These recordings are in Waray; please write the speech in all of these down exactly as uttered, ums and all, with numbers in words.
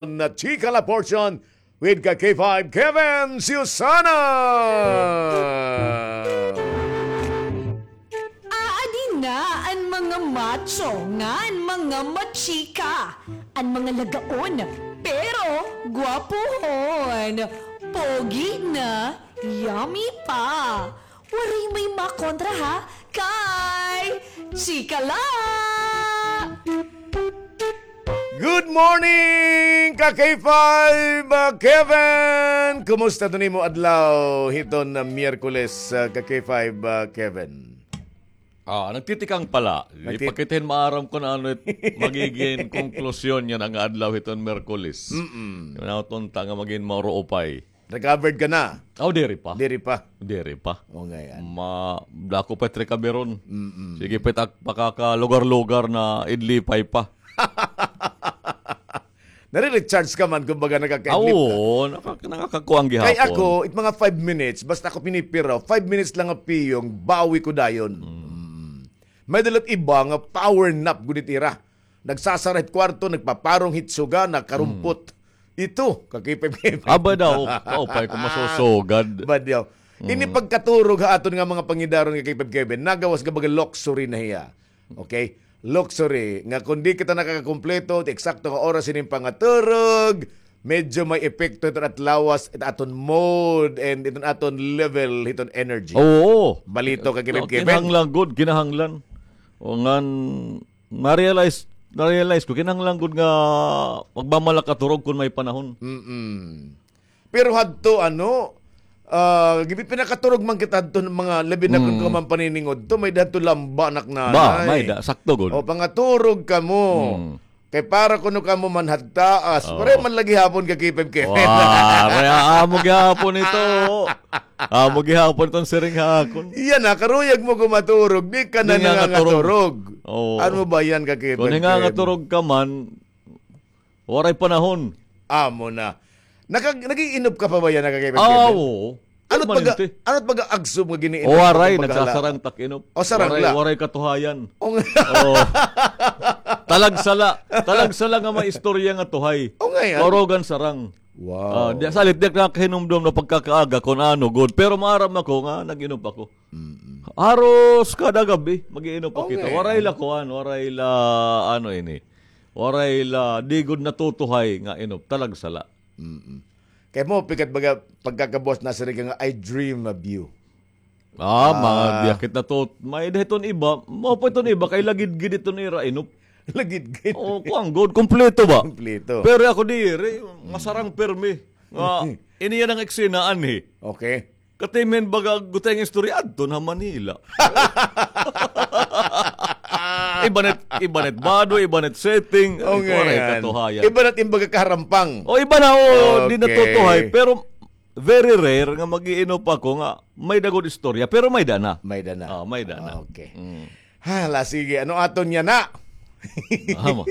na Chika La Portion with ka K five Kevin Susana. Aadi na an mga macho ngan mga machika, an mga lagaon pero gwapohon, pogi na, yummy pa. Waray may makontra ha kay Chika La! Good morning, ka K five, ah, Kevin! Kumusta ito nimo adlaw hiton, ah, Miyerkules, ah, ka K five, ah, Kevin? Ah, nagtitikang pala. Nagti- Ipakita hin maaram kon ano it magigin konklusyon niyan an adlaw hiton Miyerkules. Mm-mm. Yung nauton ta nga magin mauruupay. Recovered ka na? Aw, diri pa. Diri pa? Diri pa. O, ngay-an. Ma-, dako pa it recovery ron. Mm-mm. Sige pa it ak-, pakakalugar-lugar na idlipay pa. Nare-recharge ka man, kumbaga, nakaka-idlip ka. Oo, nakaka-, nakakakuan gihapon. Kay ako, it mga five minutes, basta ako pinipiraw, five minutes lang nga piyong, bawi ko dayon. Mm. Mm. May-ada la it iba nga power nap gud it ira. Nagsasara hit kwarto, nagpaparong hit suga, nakarumpot. Hmm. Ito, kakipipip. Aba daw, kaupay ko masusugad. Ba daw. Ini pagkaturog ha aton nga mga pangidaron nga kay Pep Kevin, nagawas nga baga luxury na hiya. Okay? Luxury. Nga kung di kita nakakakumpleto, eksakto nga oras ining pangaturog, medyo may epekto iton at lawas, it aton mood, and iton aton level, iton energy. Oo. Balito ka, Kevin, Kevin. Kinahanglan gud, kinahanglan. O ngan, Na-realize, na-realize ko, kinahanglan gud nga magmamalakaturog kon may panahon. Mm-mm. Pero hadto, ano, ah, gibi pinakaturog man kita hadto nga mga labi na kon Mm. ka man paniningudto, may-ada hadto lamba, anak, nanay. Ba, may-ada, sakto gud. O, pangaturog kamo. Mm. Kay para kuno kamo man hadtaas. Oo. Waray man lagi hapon ka K five Kevin. Waray, amo gihapon ito. Amo gihapon iton siring ha akon. Iya na, karuyag mo ko maturog, di ka na nangangaturog. Oo. Ano ba yan, ka Kevin? Kung nangangaturog ka man, waray panahon. Amo na. Naka-, nag-iinop ka pa ba yan, ka Kevin? Ah, oo. Ano baga, ano baga agsum nga giniinop? Waray, nagsasarang tak inop. O, sarang la. Waray katuhayan. Oo. Talagsala. Talagsala nga may istorya nga tuhay. O, ngay-an. Maurugan sarang. Wow. Ah, di, salit, di ak nakahinumdom na pagkakaaga kon ano, gud. Pero maaram ako nga, nag-inop ako. Mm-mm. Haros kada gab-i, mag-iinop pa kita. Waray la kuan, waray la, ano ini. Waray la, di gud natutuhay nga inop. Talagsala. Mm-mm. Kay mo, pikat baga, pagkakabuas na siring ka nga, "I dream of you." Ah, mga diyakit na to. May-ada hiton iba. Mao pa hiton iba, kay lagidgid hiton ira inop. Lagidgid. Oo, kuan gud, kompleto ba? Kompleto. Pero ako diri, masarang pirmi. Nga, ini yan ang eksena anhi. Okay. Katimhin baga gutay nga istorya, adto na Manila. Iba na it, iba na it bado, iba na it setting. O, waray katuhayan. Iba na it imbaga kaharampang. O, iba na, o, di natutuhay. Pero, very rare nga mag-iinop ako nga may-ada gud istorya, pero may-ada na. May-ada na. Ah, may-ada na. Okay. Mm. Hala, sige. Ano aton niya na? Ama,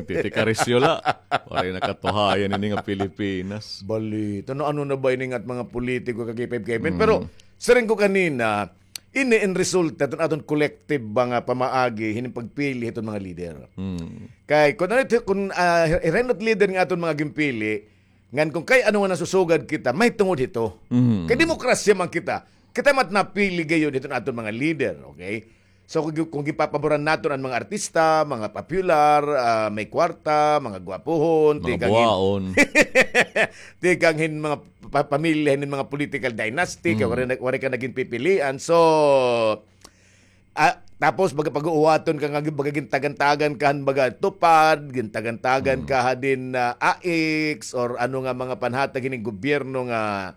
nagtitikarisyo la. Waray na katuhayan ini nga Pilipinas. Balita, ano, ano na ba ini nga mga politiko, ka K five Kevin? Mm. Pero, siring ko kanina, ini in resulta, iton aton collective ba nga pamaagi, hining pagpili hiton mga leader. Mm. Kay, kung ano ito, kung, ah, ira it leader nga aton mga ginpili, ngan kung kay ano nga nasusugad kita, may tungod hito. Mhm. Kay demokrasya man kita. Kita man napili gayod hiton aton mga leader, okay? So, kung, kung gipapaboran naton an mga artista, mga popular, ah, may kwarta, mga gwapohon, mga buwaon, tikang hin mga pa-, pamilya, hin mga political dynasty, kay waray na, waray ka nagin pipilian. So, Ah, tapos baga pag-uuwaton ka nga, baga gintagantagan ka han baga TUPAD, gintagantagan ka ha din, ah, AICS, or ano nga mga panhatag hining gobyerno nga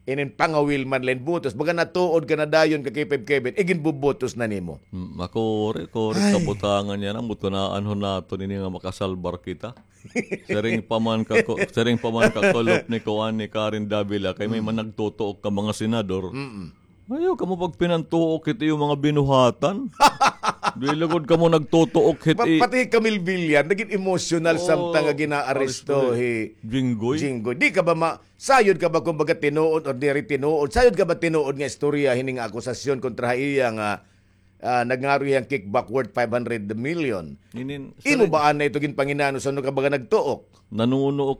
inin pangawil man la hin botos. Baga natuod ka na dayon ka K five Kevin, iginbobotos na nimo. Hmm, makuri, kuri, ay, kabutangan yana, butunaan ho naton ini nga makasalbar kita. Siring pa man ka ko-, siring pa man ka kulop ni kuan ni Karen Davila, kay may man nagtutuok ka mga senador. Mm-mm. Ayaw kamo pagpinantuok hit iyo mga binuhatan. Di lugod kamo nagtutuok hit i- pati hi Camille Villar, nagin emosyonal samtang nga ginaaresto hi Jinggoy. Jinggoy. Di ka ba ma-, sayod ka ba kumbaga tinuod or diri tinuod? Sayod ka ba tinuod nga istorya hining akusasyon kontra ha iya nga ah, nagngaro hiya hin kickback worth five hundred million. Inin, imo ba anay ito ginpanginano san-o ka baga nagtuok? Nanunuok